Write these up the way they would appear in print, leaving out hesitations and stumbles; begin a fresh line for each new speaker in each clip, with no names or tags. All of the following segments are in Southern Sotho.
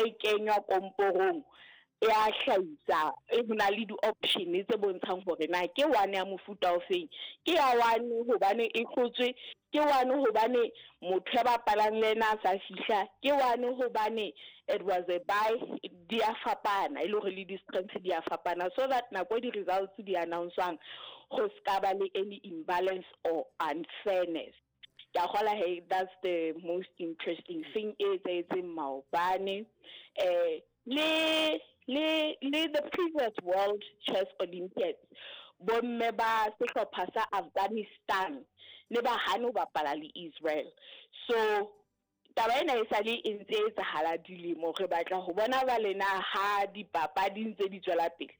Ha e kenywa komporong e a hlahisa, e ho na le di-option tse bontshang hore na ke one ya mofuta ofeng. Ke ya one hobane e hlotswe, ke one hobane motho ya bapalang le ena a sa fihla, ke one hobane it was a buy. Di a fapana, e le hore le di-strengths di a fapana, so that nako e di-results di announce-wang go ska ba le any imbalance or unfairness. Ke a kgola he that's the most interesting thing e etsahetseng maobane. Le the previous World Chess Olympiads, bomme ba sehlopha sa Afghanistan ne ba hane ho bapala le Israel. So taba ena e sale e ntse e etsahala dilemo. Re batla ho bona ba lena ha dipapadi ntse di tswela pele,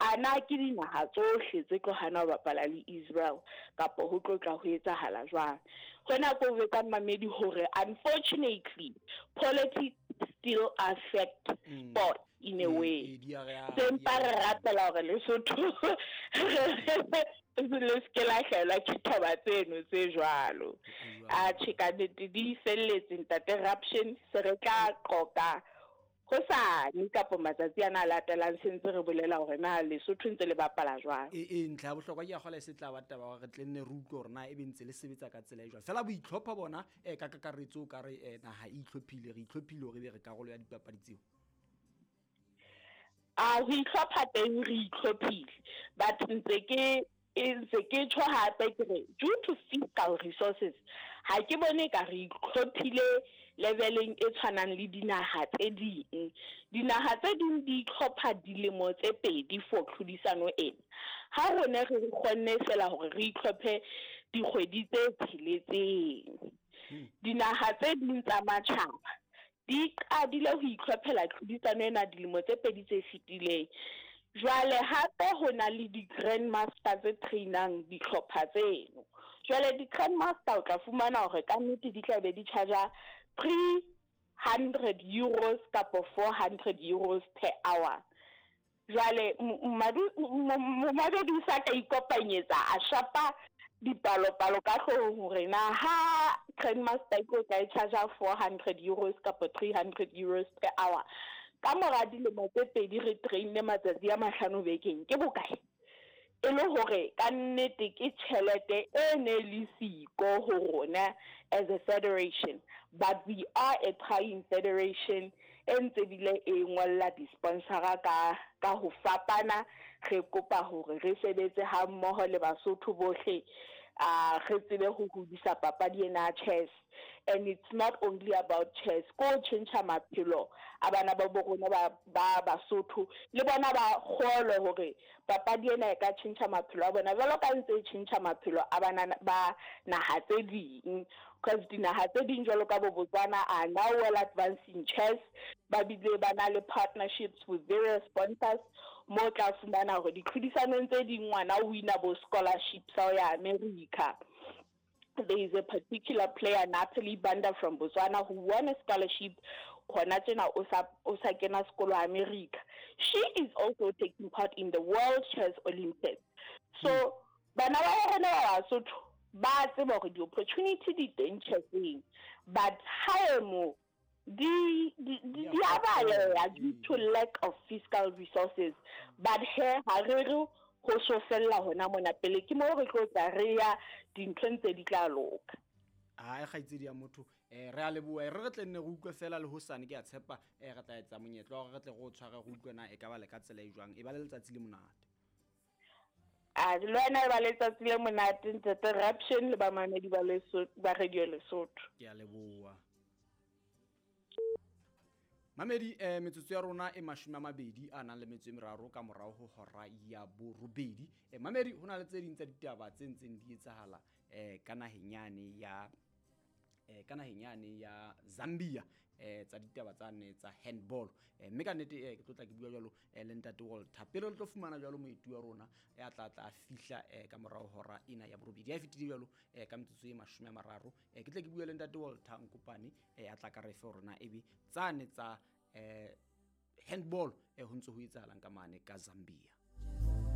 a na ke dinaha tsohle tse tlo hana ho bapala le Israel kapa ho tlo tla ho etsahala jwang. Hona ko jwetsa mamedi hore unfortunately politics still affect sport in a way.
Di a re
Se mpa
di a
re
re
rapela hore Lesotho le se ke la hlahelwa ke taba tseno tse jwalo.
Jwalo.
Atjhe, ka nnete di felletse, ntate Raption. Se re tla qoqa hosane kapo matsatsi ana a latelang, se ntse re bolela hore na Lesotho ntse le bapala jwang.
E ntlha ya bohlokwa ke ya kgola e se tla ba taba hore re tle nne re utlwe hore na ebe ntse le sebetsa ka tsela e jwang. Feela boitlhopho bona ka kakaretso o ka re naha e itlhophile, re itlhophile hore ebe re karolo ya dipapadi tseo.
A ho itlhopha teng re itlhophile, but ntse ke e ntse ke tjho hape ke re due to fiscal resources ha ke bone ka re itlhophile leveleng e tshwanang le dinaha tse ding. Dinaha tse ding di itlhopha dilemo tse 2 for tlhodisano ena. Ha rona re kgonne fela hore re itlhophe dikgwedi tse tsheletseng. Dinaha tse ding tsa matjhaba di qadile ho itlhophela tlhodisano ena dilemo tse 2 tse fetileng. Jwale hape ho na le di-grandmaster tse trainang dihlopha tseno. Jwale di-grandmaster o tla fumana hore ka nnete di tla be di charge 300 euros kapo 400 euros per hour. Jwale momamedi o sa ka ikopanyetsa a shapa dipalopalo ka hloohong hore na ha grandmaster e tlo tla e charge 400 euros kapo 300 euros per hour, ka mora dilemo tse 2 re trainne matsatsi a 5 bekeng, ke bokae? E le hore ka nnete ke tjhelete e ne le siko ho rona as a federation, but we are a trying federation e ntse bile e ngolla di-sponsora ka ho fapana. Re kopa hore re sebetse ha mmoho le Basotho bohle, re tsebe ho hodisa papadi ena ya chess. And it's not only about chess, ko tjhentjha maphelo a bana ba bo rona ba Basotho, le bona ba kgolwe hore papadi ena e ka tjhentjha maphelo a bona jwalo ka ntse e tjhentjha maphelo a bana ba naha tse ding. Because dinaha tse ding jwalo ka bo Botswana are now well advanced in chess, ba bile ba na le partnerships with various sponsors, mo tla fumana hore ditlhodisanong tse ding ngwana o wina bo scholarships ho ya America. There is a particular player, Natalie Banda from Botswana, who won a scholarship hona tjena o sa kena sekolo America. She is also taking part in the World Chess Olympics. So bana ba rona ba Basotho ba tseba hore di-opportunity di teng chesseng, but ha e mo di a baleha due to lack of fiscal resources. But he ha re re ho so fella hona mona pele, ke mo re tlo tla re ya dinthong tse di tla loka.
Ai kgaitsedi ya motho, re a leboha. Re re tle nne re utlwe fela le hosane, ke a tshepa re tla etsa monyetla wa hore re tle re o tshware re utlwe na e ka ba le ka tsela e jwang. E ba le letsatsi le monate.
A le wena e ba letsatsi le monate, ntate Raption le bamamedi ba Lesotho, ba Radio Lesotho.
Ke a leboha. Mamedi, metsotso ya rona e 23 a nang le metso e meraro ka morao ho hora ya borobedi. Mamedi, ho na le tse ding tsa ditaba tse ntseng di etsahala ka naheng yane ya ka naheng yane ya Zambia, tsa ditaba tsa ne tsa handball. Mme ka nnete ke tlo tla ke bua jwalo le ntate Walter. Pele re tlo fumana jwalo moeti wa rona ya tla tla fihla ka morao hora ena ya borobedi. Ya fetile jwalo ka metsotso e 30. Ke tle ke bua le ntate Walter Nkopane ya tla ka re fe rona ebe tsane tsa handball ho ntse ho etsahalang ka mane ka Zambia.